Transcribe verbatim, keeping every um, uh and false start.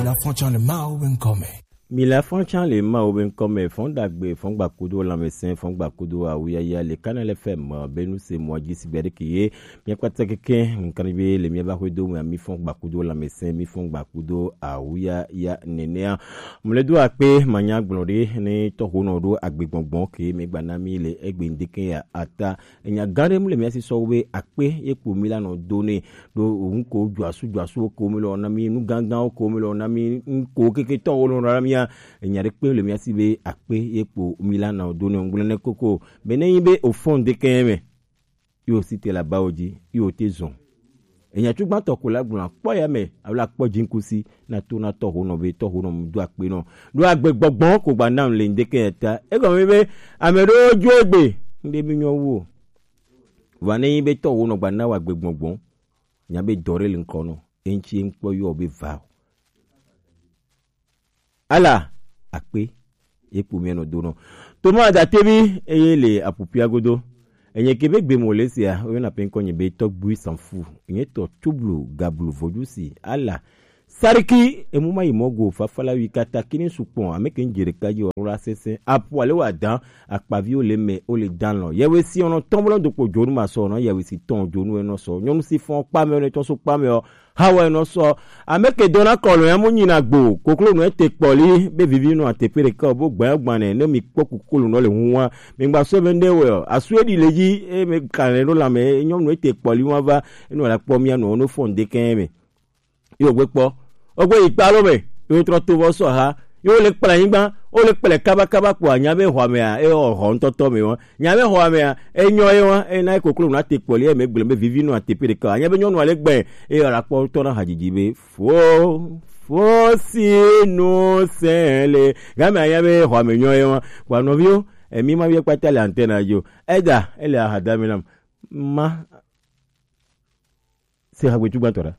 Afɔntsã le Mawu be ŋkɔ me. Mi le afɔntsã le Mawu be ŋkɔ me, fɔn dagbe, fɔn gbakudo lãmesẽ, fɔn gbakudo awuyaya le Kanal F M, Benu se mɔ dzi si gbe ɖe ke ye. Mia kpata keke, ŋkan be le mia ba xwe do me, mi fɔn gbakudo lãmesẽ, mi fɔn gbakudo awuyaya nenea. Mle do akpe manya gblɔ ɖe ne tɔxonɔ ɖo agbegbɔgbɔ ke me gba na mi le egbe ŋdeke ya ata. Enya gã ɖe mu le mia si sɔ wo be akpe ye kpo mi la nɔ do ne. Ɖo ŋko dzoasu dzoasu ko mi lɔ na mi, nu gãgãwo ko mi lɔ na mi, ŋko keke tɔ wo lɔ na mia. Enya ɖe kpe le mia si be akpe ye kpo mi la na do ne ŋgble ne koko. Be ne yi be o fɔn de kɛ me. Yo si te la ba o dzi, yo te zɔn. Enya tsugbãtɔ ko la gblɔ kpɔ ya me, alo akpɔ dzinkusi na to na tɔxonɔ be tɔxonɔ mu do akpe nɔ. Ɖo agbe gbɔgbɔ ko gba nam le ŋdeke ya ta. Egɔme be ame ɖewo dzo egbe, ŋɖe mi nyɔ wu o. Vɔ ne yi be tɔxonɔ gba na wa agbe gbɔgbɔ, nya be dɔ ɖe le ŋkɔ nɔ, eŋtsi ŋkpɔ yɔ be va o. Ala akpe ye kpo mia nɔ do nɔ. Toma Adatevi eye le apupia godo. Enye ke be gbe mo le sia, o yona pe ŋkɔ nye be tɔgbui sanfu. Nye tɔ tublu gablu vodusi. Ala Sariki emu ma yi mɔ go fafala wi kata kini sukpɔn ame ke ŋdze ɖeka dzi ɔrɔ la sese apu ale wa dan akpavi o le me o le dan lɔ. Yewe si ɔnɔ tɔn bolo dokpo dzonu ma sɔ ɔnɔ yewe si tɔn dzonu enɔ sɔ. Nyɔnu si fɔn kpa me ɔnɔ tɔn so kpa me ɔ. Hawa enɔ sɔ. Ame ke dɔna kɔlɔ ya mu nyina gbo. Koklo nɔ ete kpɔli be vivi nɔ atepe ɖeka o bo gbanya gbane ne mi kpɔ koklo nɔ le huwa. Mi gba sɔ be nde wɛ ɔ. Asu eɖi le dzi e me kane ɖo la me nyɔnu ete kpɔli wa va. Enɔ la kpɔ mia nɔ no fɔn de kɛ me. Yo gbe kpɔ. Ogbe yi kpa lo me. Yo trɔ to vɔ sɔ ha. Yo le kple anyigba. O le kple kaba kaba kpɔ anya be xɔ mea. E xɔ ŋtɔtɔ me wa. Nya be xɔ mea. E nyɔ ye wa. E na koklo na te kpɔli e me gblem be vivi nɔ atepe ɖeka. Anya be nyɔnu ale gbɛ. E la kpɔ tɔ na hadzidzi be fo fo si no se le. Game anya be xɔ me nyɔ ye wa. Kpɔ nɔviwo. Emi ma vie kpata le antenne yo. Eda ele ahadami nam. Ma se hagbe tsugbãtɔ ɖa.